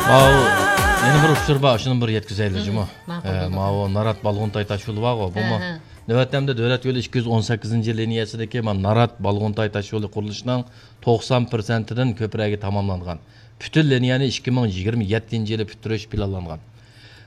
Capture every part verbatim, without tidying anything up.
ماۋۇ يەنە بىر ئۇچۇر بار، شۇنى بىر يەتكۈزەيلى، جۇمۇ. ماقۇل، ئە، بولدى. ماۋۇ نارات بالغۇنتاي تاش يولى بارغۇ، بۇمۇ ھە، ھە. نۆۋەتتە ئەمدى دۆلەت يولى ئىككى يۈز ئون سەككىزىنچى لىنىيەسىدىكى مانا نارات بالغۇنتاي تاش يولى قۇرۇلۇشىنىڭ توقسان پىرسەنتىدىن كۆپرەكى تاماملانغان. پۈتۈن لىنىيەنى ئىككى مىڭ يىگىرمە يەتتىنچى يىلى پۈتتۈرۈش پىلانلانغان.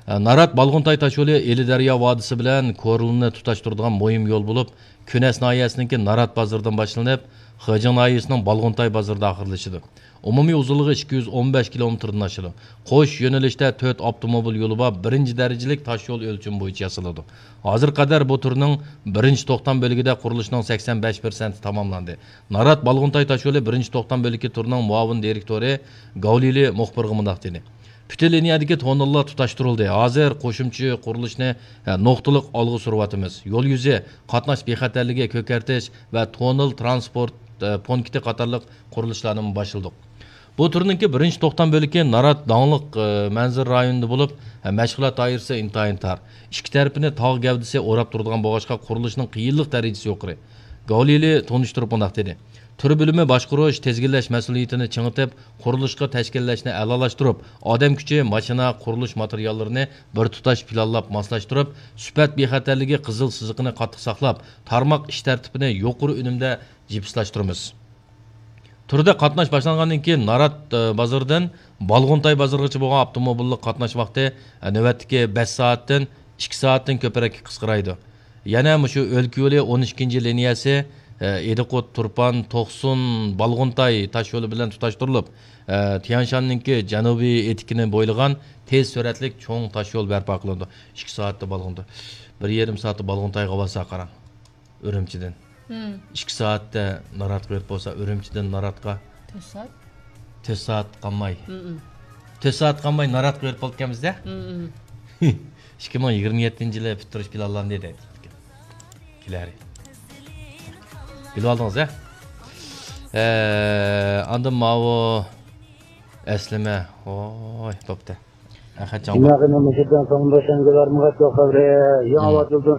ئە، نارات بالغۇنتاي تاش يولى ئىلى دەريا ۋادىسى بىلەن كورلىنى تۇتاشتۇرىدىغان مۇھىم يول بولۇپ، كۈنەس ناھىيەسىنىڭكى نارات بازىرىدىن باشلىنىپ، خېجىڭ ناھىيەسىنىڭ بالغۇنتاي بازىرىدا ئاخىرلىشىدۇ. ئومۇمىي ئۇزۇنلۇقى ئىككى يۈز ئون بەش كىلومېتىردىن ئاشىدۇ. قوش يۆنىلىشتە تۆت ئاپتوموبىل يولى بار بىرىنچى دەرىجىلىك تاش يول ئۆلچىمى بويىچە ياسىلىدۇ. ھازىرغا قەدەر بۇ تۈرنىڭ بىرىنچى توختام بۆلىكىدە قۇرۇلۇشنىڭ سەكسەن بەش پىرسەنتى تاماملاندى. نارات بالغۇنتاي تاش يولى بىرىنچى توختام بۆلىكى تۈرىنىڭ مۇئاۋىن دىرېكتورى گاۋلىلى مۇخبىرغا مۇنداق دېدى: پۈتۈن لىنىيەدىكى توننېللار تۇتاشتۇرۇلدى. ھازىر قوشۇمچە قۇرۇلۇشنى، ھە، نۇقتىلىق ئالغا سۈرۈۋاتىمىز. يول يۈزى، قاتناش بىخەتەرلىكى كۆكەرتىش ۋە توننېل ترانسپورت، ئە، پونكىتى قاتارلىق قۇرۇلۇشلارنىمۇ باشلىدۇق. بۇ تۈرنىڭكى بىرىنچى توختام بۆلىكى نارات داڭلىق، ئە، مەنزىرە رايونىدا بولۇپ، ھە، مەشغۇلات دائىرىسى ئىنتايىن تار. ئىككى تەرىپىنى تاغ گەۋدىسى ئوراپ تۇرىدىغان بولغاچقا، قۇرۇلۇشنىڭ قىيىنلىق دەرىجىسى يۇقىرى. گاۋلىلى تونۇشتۇرۇپ مۇنداق دېدى: تۈر بۆلۈمى باشقۇرۇش، تىزگىنلەش مەسئۇلىيىتىنى چىڭىتىپ، قۇرۇلۇشقا تەشكىللەشنى ئەلالاشتۇرۇپ، ئادەم كۈچى، ماشىنا، قۇرۇلۇش ماتېرىياللىرىنى بىر تۇتاش پىلانلاپ ماسلاشتۇرۇپ، سۈپەت بىخەتەرلىكى قىزىل سىزىقىنى قاتتىق ساقلاپ، تارماق ئىش تەرتىپىنى يۇقىرى ئۈنۈمدە جىپسلاشتۇرىمىز. تۈردە قاتناش باشلانغاندىن كېيىن نارات، ئە، بازىرىدىن بالغۇنتاي بازىرىغىچە بولغان ئاپتوموبىللىق قاتناش ۋاقتى، ئە، نۆۋەتتىكى بەش سائەتتىن ئىككى سائەتتىن كۆپرەككە قىسقىرايدۇ. يەنە مۇشۇ ئۆلكە يولى ئون ئىككىنچى لىنىيەسى، ئە، ئىدىقۇت، تۇرپان، توقسۇن، بالغۇنتاي تاش يولى بىلەن تۇتاشتۇرۇلۇپ، ئە، تيەنشاننىڭكى جەنۇبىي ئېتىكىنى بويلىغان تېز سۈرئەتلىك چوڭ تاش يول بەرپا قىلىنىدۇ. ئىككى سائەتتە بالغۇنتاي، بىر يېرىم سائەتتە بالغۇنتايغا بارسا قاراڭ. ئۈرۈمچىدىن. مم. ئىككى سائەتتە ناراتقا يېتىپ بولسا، ئۈرۈمچىدىن ناراتقا. تۆت سائەت. تۆت سائەت قالماي. مم. تۆت سائەت قالماي ناراتقا يېتىپ بولىدىكەنمىز-دە. مم. ئىككى مىڭ يىگىرمە يەتتىنچى يىلى پۈتتۈرۈش پىلانلاندى دەيدۇ. كېلەر. بىلىۋالدىڭىز-ھە؟ ئە، ئاندىن ماۋۇ ئەسلىمە. ۋاي، بوپتۇ. ئەخەتجان. جىناغىنى مۇشۇدىن سوڭدا شەڭگىلەر مۇغەتتە خەۋرى. يېڭى مم. ئاۋات يولدىن